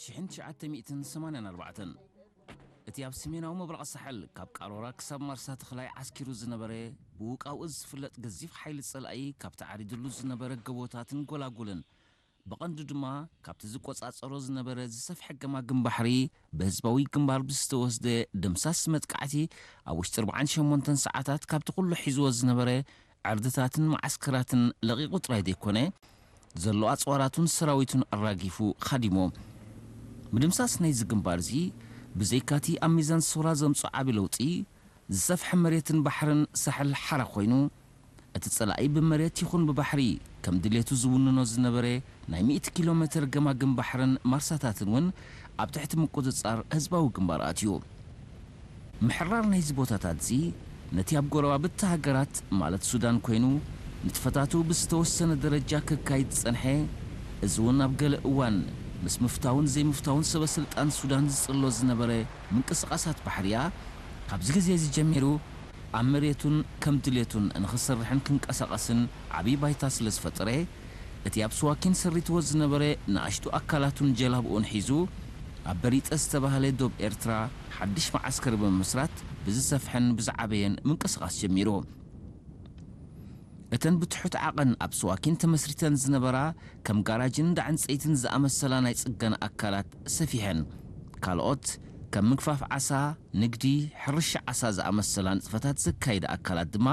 ሽሕን ትሽዓተ ሚእትን ሰማንያን ኣርባዕተን፣ እቲ ኣብ ሰሜናዊ ምብራቕ ሳሕል ካብ ቃሮራ ክሳብ ማርሳ ተኽላይ ዓስኪሩ ዝነበረ፣ ብውቃውኡ ዝፍለጥ ገዚፍ ሓይሊ ጸላኢ፣ ካብቲ ዓሪድሉ ዝነበረ ገቦታትን ጎላጉልን፣ ብቐንዱ ድማ ካብቲ ዝቆጻጸሮ ዝነበረ ዝሰፍሐ ገማግም ባሕሪ፣ ብህዝባዊ ግንባር ብዝተወስደ ደምሳስ መጥቃዕቲ፣ ኣብ ውሽጢ ኣርባዓን ሸሞንተን ሰዓታት ካብቲ ኩሉ ሒዝዎ ዝነበረ ዕርድታትን መዓስከራትን ለቒቑ ጥራይ ዘይኮነ፣ ዘሎ ኣጽዋራቱን ሰራዊቱን ኣራጊፉ ኻዲሞ። ምድምሳስ ናይዚ ግንባር እዚ፣ ብዘይካቲ ኣብ ሚዛን ሰውራ ዘምጽኦ ዓቢ ለውጢ፣ ዝሰፍሐ መሬትን ባሕርን ሳሕል ሓራ ኮይኑ፣ እቲ ጸላኢ ብመሬት ይኹን ብባሕሪ ከም ድሌቱ ዝውንኖ ዝነበረ ናይ ሚእቲ ኪሎ ሜትር ገማግም ባሕርን ማርሳታትን እውን ኣብ ትሕቲ ምቁጽጻር ህዝባዊ ግንባር ኣትዩ። ምሕራር ናይዚ ቦታታት እዚ ነቲ ኣብ ጎረባብቲ ሃገራት ማለት ሱዳን ኮይኑ ንጥፈታቱ ብዝተወሰነ ደረጃ ከካይድ ዝጸንሐ፣ እዚ እውን ኣብ ገለ እዋን ምስ ምፍታውን ዘይምፍታውን ሰበ ስልጣን ሱዳን ዝጽሎ ዝነበረ ምንቅስቓሳት ባሕርያ፣ ካብዚ ግዜ እዚ ጀሚሩ ኣብ መሬቱን ከም ድሌቱን ንኽሰርሕን ክንቀሳቐስን ዓብዪ ባይታ ስለ ዝፈጠረ፣ እቲ ኣብ ስዋኪን ሰሪትዎ ዝነበረ ንኣሽቱ ኣካላቱን ጀላብኡን ሒዙ ኣብ በሪጠ ዝተባህለ ዶብ ኤርትራ ሓድሽ መዓስከር ብምምስራት ብዝሰፍሐን ብዝዓበየን ምንቅስቓስ ጀሚሩ። እተን ብትሑት ዓቐን ኣብ ስዋኪን ተመስሪተን ዝነበራ ከም ጋራጅን እንዳ ዕንጸይትን ዝኣመሰላ ናይ ጽገና ኣካላት ሰፊሐን፣ ካልኦት ከም ምግፋፍ ዓሳ፣ ንግዲ፣ ሕርሻ ዓሳ ዝኣመሰላ ንጥፈታት ዘካይዳ ኣካላት ድማ